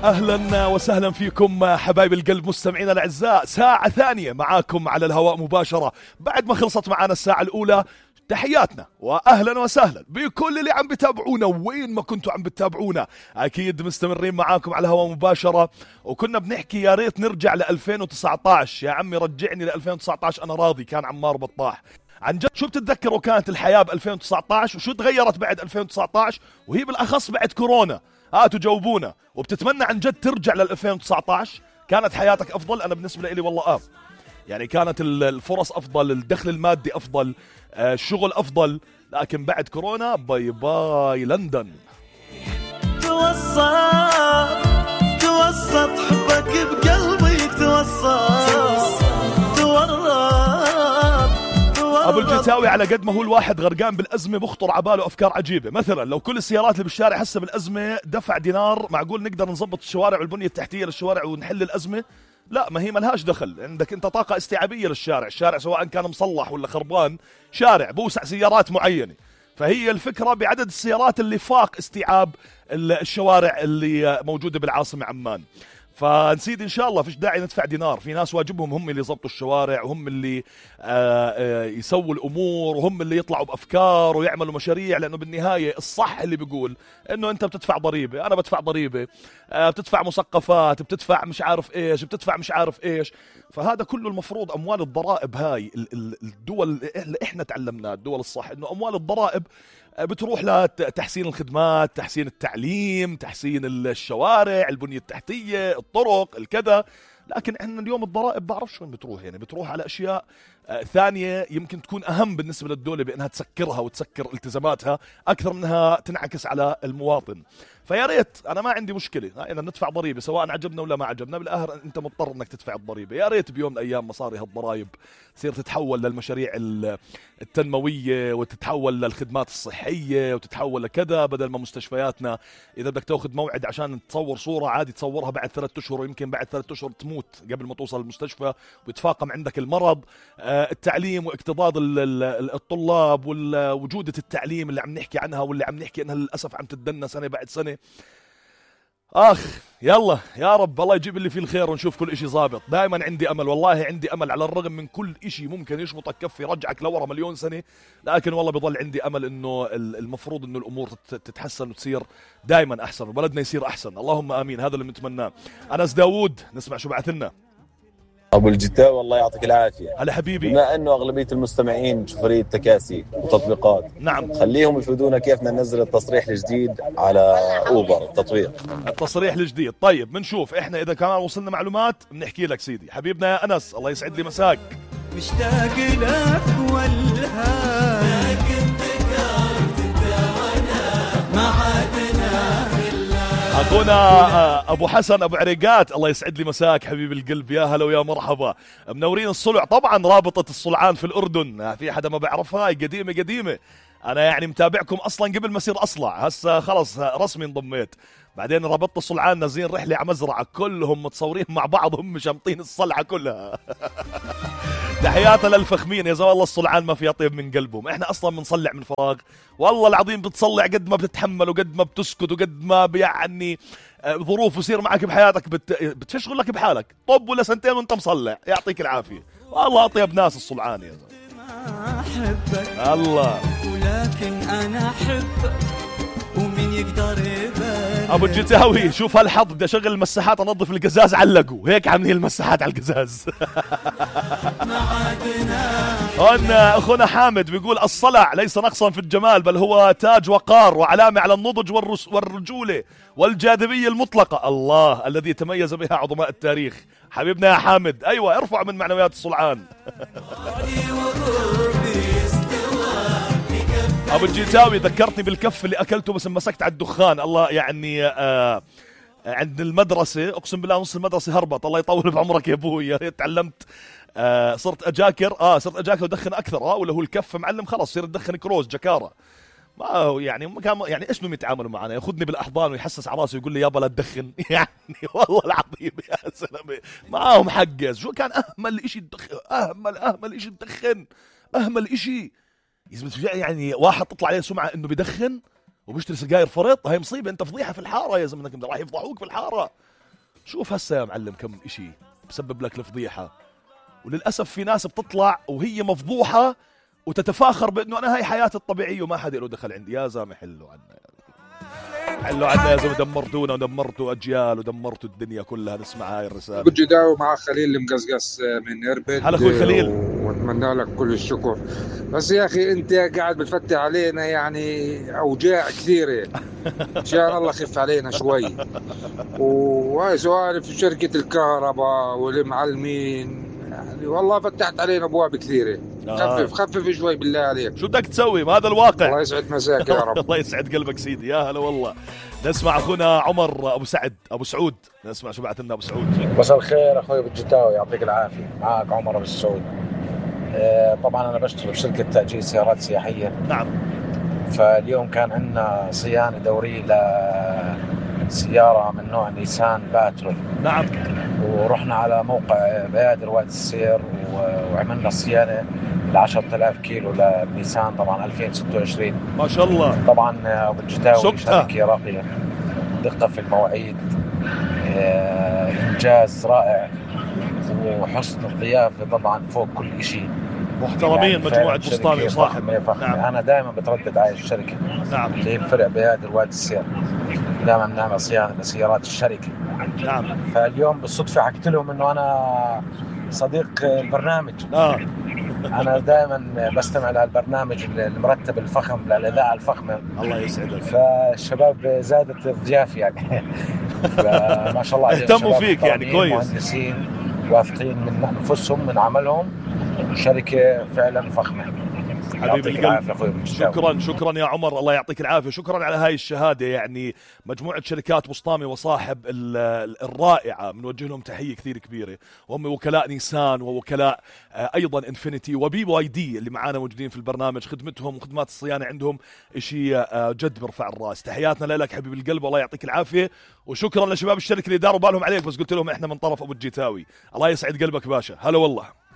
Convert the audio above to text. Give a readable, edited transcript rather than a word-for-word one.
أهلا وسهلا فيكم حبايب القلب مستمعينا الأعزاء. ساعة ثانية معاكم على الهواء مباشرة بعد ما خلصت معانا الساعة الأولى. تحياتنا وأهلا وسهلا بكل اللي عم بتابعونا وين ما كنتوا عم بتابعونا. أكيد مستمرين معاكم على الهواء مباشرة، وكنا بنحكي يا ريت نرجع ل 2019. يا عمي رجعني ل 2019 أنا راضي. كان عمار بطاح. عن جد شو بتتذكروا كانت الحياة ب 2019 وشو تغيرت بعد 2019 وهي بالأخص بعد كورونا؟ هاتوا جاوبونا. وبتتمنى عن جد ترجع لل 2019؟ كانت حياتك أفضل؟ أنا بالنسبة لي والله يعني كانت الفرص أفضل، الدخل المادي أفضل، الشغل أفضل. لكن بعد كورونا باي باي لندن. توسط حبك بقلبي، توسط أبو الجتاوي على قد ما هو الواحد غرقان بالأزمة بخطر عباله أفكار عجيبة. مثلا لو كل السيارات اللي بالشارع هسه بالأزمة دفع دينار، معقول نقدر نظبط الشوارع والبنية التحتية للشوارع ونحل الأزمة؟ لا، ما هي ملهاش دخل. عندك انت طاقة استيعابية للشارع، الشارع سواء كان مصلح ولا خربان شارع بوسع سيارات معينة. فهي الفكرة بعدد السيارات اللي فاق استيعاب الشوارع اللي موجودة بالعاصمة عمان. فنسيد إن شاء الله فيش داعي ندفع دينار. في ناس واجبهم هم اللي يضبطوا الشوارع وهم اللي يسووا الأمور وهم اللي يطلعوا بأفكار ويعملوا مشاريع، لأنه بالنهاية الصح اللي بيقول إنه أنت بتدفع ضريبة، أنا بدفع ضريبة، بتدفع مثقفات، بتدفع مش عارف إيش، بتدفع مش عارف إيش. فهذا كله المفروض أموال الضرائب. هاي الدول اللي إحنا تعلمناه، الدول الصح، إنه أموال الضرائب بتروح لتحسين الخدمات، تحسين التعليم، تحسين الشوارع، البنية التحتية، الطرق، الكذا. لكن احنا اليوم الضرائب بعرفش وين بتروح. يعني بتروح على أشياء ثانية يمكن تكون أهم بالنسبة للدولة بأنها تسكرها وتسكر التزاماتها أكثر منها تنعكس على المواطن. فيا ريت، أنا ما عندي مشكلة إن ندفع ضريبة سواء عجبنا ولا ما عجبنا، بالآخر أنت مضطر أنك تدفع الضريبة. يا ريت بيوم من الأيام مصاري هالضرائب تصير تتحول للمشاريع التنموية وتتحول للخدمات الصحية وتتحول لكذا، بدل ما مستشفياتنا إذا بدك تأخذ موعد عشان تصور صورة عادي تصورها بعد 3 أشهر، ويمكن بعد 3 أشهر تموت قبل ما توصل المستشفى ويتفاقم عندك المرض. التعليم واكتظاظ الطلاب وجودة التعليم اللي عم نحكي عنها واللي عم نحكي انها للأسف عم تدنى سنة بعد سنة. يلا يا رب الله يجيب اللي فيه الخير ونشوف كل اشي ظابط. دائما عندي امل، والله عندي امل على الرغم من كل اشي ممكن يشبطك كف يرجعك لورا مليون سنة، لكن والله بضل عندي امل انه المفروض انه الامور تتحسن وتصير دائما احسن وبلدنا يصير احسن. اللهم امين، هذا اللي بنتمناه. انس داوود نسمع شو بعث لنا. ابو الجتاوي الله يعطيك العافيه. هلا حبيبي. بما انه اغلبيه المستمعين شوفريه تكاسي وتطبيقات، نعم، خليهم يفيدونا كيف بدنا ننزل التصريح الجديد على اوبر التطبيق. التصريح الجديد طيب بنشوف احنا اذا كمان وصلنا معلومات بنحكي لك سيدي. حبيبنا يا انس الله يسعد لي مساك. مشتاق لك والهام، لكن ذكرت الدوانا ما عادنا في الله. اخونا ابو حسن ابو عريقات الله يسعد لي مساك حبيب القلب. يا هلا ويا مرحبا. منورين الصلع. طبعا رابطة الصلعان في الاردن، في حدا ما بعرفها؟ قديمة. انا يعني متابعكم اصلا قبل ما اصير اصلع، هسه خلص رسمي انضميت. بعدين رابطة الصلعان نازلين رحلة على مزرعة كلهم متصورين مع بعض هم شامطين الصلعة كلها. تحياتنا للفخمين يا زلمه. الله الصلعان ما فيها طيب من قلبهم. احنا اصلا بنصلع من فراغ والله العظيم. بتصلع قد ما بتتحمل وقد ما بتسكت وقد ما يعني ظروف يصير معك بحياتك بتشغل لك بحالك. طب ولا سنتين وانت مصلع، يعطيك العافيه. والله اطيب ناس الصلعان يا زلمه. احبك الله، ولكن انا احبك ومين يقدر يبالي. ابو الجتاوي شوف هالحظ، بدي اشغل المساحات انظف القزاز علقوا هيك عاملين المساحات على القزاز. هون اخونا حامد بيقول الصلع ليس نقصا في الجمال بل هو تاج وقار وعلامة على النضج والرجولة والجاذبية المطلقة، الله الذي تميز بها عظماء التاريخ. حبيبنا يا حامد ايوه ارفع من معنويات الصلعان. ابو الجيتاوي ذكرتني بالكف اللي اكلته بس مسكت على الدخان. الله يعني عند المدرسة اقسم بالله نص المدرسة هربت. الله يطول بعمرك يا ابوي. يا ريت تعلمت صرت اجاكر صرت اجاكر ودخن اكثر. ولا هو الكف معلم خلاص صير تدخن كروز جكارة. ما هو يعني كان يعني ايش بدهم يتعاملوا معنا؟ ياخذني بالاحضان ويحسس على راسي ويقول لي يابا لا تدخن. يعني والله العظيم يا زلمه معاهم حق. شو كان اهمل شيء تدخن؟ اهمل شيء تدخن، اهمل شيء يعني واحد تطلع عليه سمعه انه بدخن وبيشتري سجاير فرط. هاي مصيبة، انت فضيحة في الحارة يا زلمة، راح يفضحوك في الحارة. شوف هسه يا معلم كم اشي بسبب لك الفضيحة. وللأسف في ناس بتطلع وهي مفضوحة وتتفاخر بأنه أنا هاي حياتي الطبيعية وما حدا له دخل عندي. يا زلمة حلو عنا، حلو عنا يا زلمة، دمرتونا ودمرتوا أجيال ودمرتوا الدنيا كلها. نسمع هاي الرسالة. بجداو مع خليل المقزقز من إربد. هلا أخوي خليل، واتمنى لك كل الشكر. بس يا أخي أنت قاعد بتفتح علينا يعني أوجاع كثيرة. إن شاء الله خف علينا شوي. وهاي سؤال في شركة الكهرباء والمعلمين، يعني والله فتحت علينا أبواب كثيرة. خفف شوي بالله عليك. شو بدك تسوي؟ ما هذا الواقع. الله يسعد مساك يا رب. الله يسعد قلبك سيدي. يا هلا والله. نسمع أخونا عمر أبو سعود. نسمع شو بعث لنا أبو سعود. مساء الخير أخوي بالجداوي، يعطيك العافية. معك عمر أبو سعود. طبعا أنا بشتغل بشركة تأجير سيارات سياحية. نعم. فاليوم كان عندنا صيانة دورية لسيارة من نوع نيسان باترول. نعم. ورحنا على موقع بيادر وادي السير وعملنا صيانة 10,000 كيلو لنيسان طبعا 2026. ما شاء الله. طبعا أبو الجداوي شركة راقية، دقة في المواعيد، إنجاز رائع، وحسن الضيافة طبعا فوق كل شيء. محترمين يعني مجموعة بسطامي وصاحب. نعم. أنا دائما بتردد على الشركة. نعم. اللي هي فرع بيادر وادي السير، دائما نعمل صيانة لسيارات الشركة. نعم. فاليوم بالصدفة حكيت لهم إنه أنا صديق البرنامج. أنا دائما بستمع للبرنامج المرتب الفخم للإذاعة الفخمة. الله يسعدك. فالشباب زادت الضياف يعني. فما شاء الله اهتموا فيك يعني كويس. مهندسين واثقين من أنفسهم من عملهم، شركة فعلا فخمة. حبيبي القلب، شكرا يا عمر، الله يعطيك العافية. شكرا على هاي الشهادة. يعني مجموعة شركات بسطامي وصاحب الرائعة بنوجه لهم تحية كثير كبيرة، وهم وكلاء نيسان ووكلاء أيضا انفينيتي وبي واي دي اللي معانا موجودين في البرنامج. خدمتهم وخدمات الصيانة عندهم إشي جد برفع الراس. تحياتنا لك حبيبي القلب، والله يعطيك العافية. وشكرا لشباب الشركة اللي داروا بالهم عليك، بس قلت لهم احنا من طرف أبو الجيتاوي. الله يسعد قلبك باشا. هلا والله.